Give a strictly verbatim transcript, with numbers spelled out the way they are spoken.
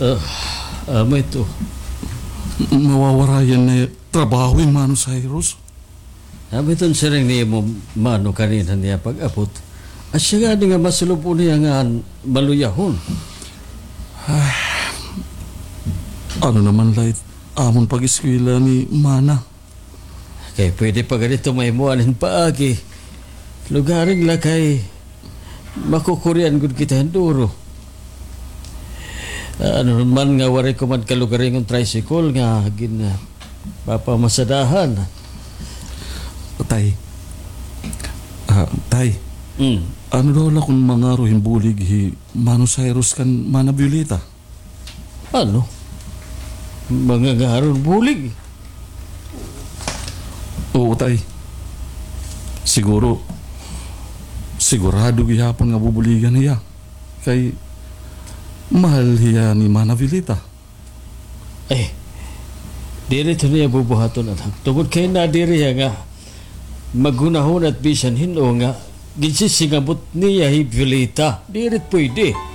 Ah, amo ito. Mawawarayan na trabaho hi Mano Cyrus. Amo iton siring ni imo mano kanina niya pag-abot. Asya ngani nga masulub-on niya nga maluyahon. Ano naman la it amon pag-eskwela ni Mana? Kay pwede pa gani ito mahimoan hin paagi. Lugaring la kay makukurian gud kita hin duro. Ano man nga waray ko man kalugaringon tricycle nga gin, ah, papamasadahan. Tay. Ah, tay. Mm. Ano daw la kon mangaro hin bulig hi Mano Cyrus kan Mana Violeta? Ano? Mangangaro hin bulig? Oo, tay. Siguro, sigurado gihapon nga bubuligan hiya. Kay mahal hiya ni Mana Violeta. Eh, diri ito niya bubuhaton, anak. Tungod kay nadiri hiya nga maghunahuna it bisan hin-o nga ginsisingabot niya hi Violeta. Diri pwede.